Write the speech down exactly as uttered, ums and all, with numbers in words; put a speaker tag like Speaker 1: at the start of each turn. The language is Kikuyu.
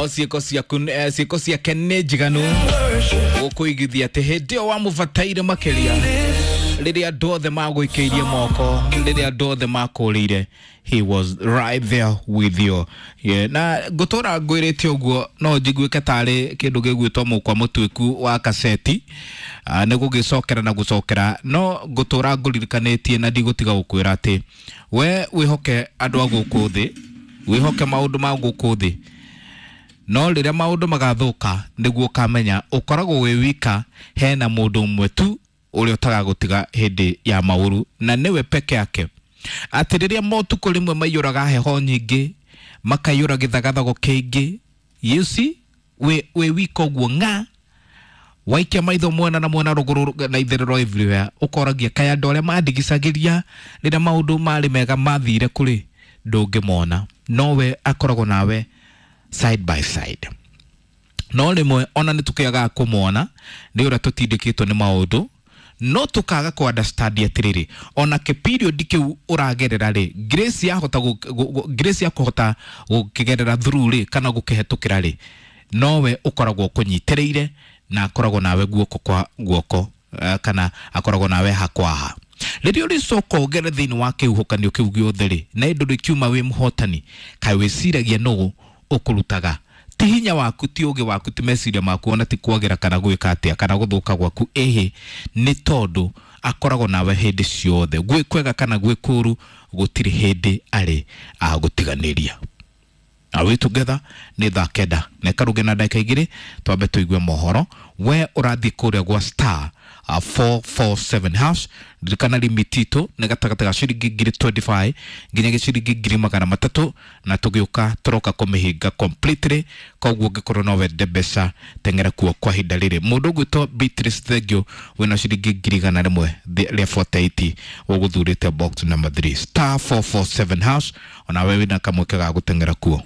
Speaker 1: No ciĩko ciaku, eh, ciĩko ciake nĩ njiganu gũkũigithia atĩ hĩndĩ ĩyo wamũbataire makĩria, rĩrĩa andũ othe magũikĩirie moko, rĩrĩa andũ othe makũrĩire, he was right there with you. Yeah. Na ngũtũra ngwĩrĩte ũguo no njiguĩke tarĩ kĩndũ gĩgwĩtwo mũkwa mũtuĩku wa kaseti, uh, nĩ gũgĩcokera na gũcokera, no ngũtũra ngũririkanĩtie na ndigũtiga gũkwĩra atĩ we wĩhoke andũ a gũkũ thĩ, wĩhoke maũndũ ma gũkũ thĩ, no rĩrĩa maũndũ magathũka nĩguo ũkamenya ũkoragwo wĩ wika, hena mũndũ ũmwe tu ũrĩa ũtagagũtiga hĩndĩ ya maũru, na nĩwe peke yake. Atĩ rĩrĩa motukũ rĩmwe maiyũraga heho nyingĩ, makaiyũra gĩthagathago kĩingĩ, you see, wĩ wĩ wika ũguo ng'a, waikia maitho mwena na mwena, rũgũrũ na itherero, everywhere, ũkoragia kaĩ andũ arĩa mandigicagĩria rĩrĩa maũndũ marĩ mega mathire kũrĩ, ndũngĩmona, nowe akoragwo nawe side by side. No rĩmwe ona nĩ tũkĩagaga kũmona nĩ ũrĩa tũtindĩkĩtwo nĩ maũndũ, no tũkaga kũ understand atĩrĩrĩ, ona kĩ period kĩu ũragerera rĩ, grace yahota gũ- gũ- gũ- grace ya kũhota gũkĩgerera through rĩ, kana gũkĩhetũkĩra rĩ, nowe ũkoragwo ũkũnyitĩrĩire na akoragwo nawe guoko kwa guoko, eh, kana akoragwo nawe hakwaha rĩrĩa ũrĩcoka ũgere thĩinĩ wa kĩhuhũkanio kĩu gĩothe rĩ, na ĩndũ rĩkiuma wĩ mũhotani. Kaĩ wĩciragia nũũ ũkũrutaga? Ti hinya waku, ti ũgĩ waku, ti meciria maku, ona ti kwagĩra kana gwĩka atĩa kana gũthũka gwaku, ĩhĩ, nĩ tondũ akoragwo nawe hĩndĩ ciothe, gwĩ kwega kana gwĩ kũũru, gũtirĩ hĩndĩ arĩ agũtiganĩria. Are we together? Nĩ thaa kenda na ĩkaruge na ndagĩka igĩrĩ, twambe tũigue mohoro. We ũrathiĩ kũrĩa gwa star uh, four four seven hash. Ririkana limit itũ nĩ gatagatĩ ga ciringi ngiri mĩrongo ĩrĩ na ithano nginya ciringi ngiri magana matatũ, na tũgĩũka tũroka kũmĩhinga completely. Koguo ũngĩkorwo no wende mbeca, teng'era kuo kwa ihinda rĩrĩ. Mũndũ ũgwĩtwo Beatrice Thengio, wĩna ciringi ngiri igana rĩmwe rĩa mĩrongo ĩnana na nyanya, ũgũthurĩte box number three, star four four seven hash. Onawe wĩna kamweke ga gũteng'era kuo.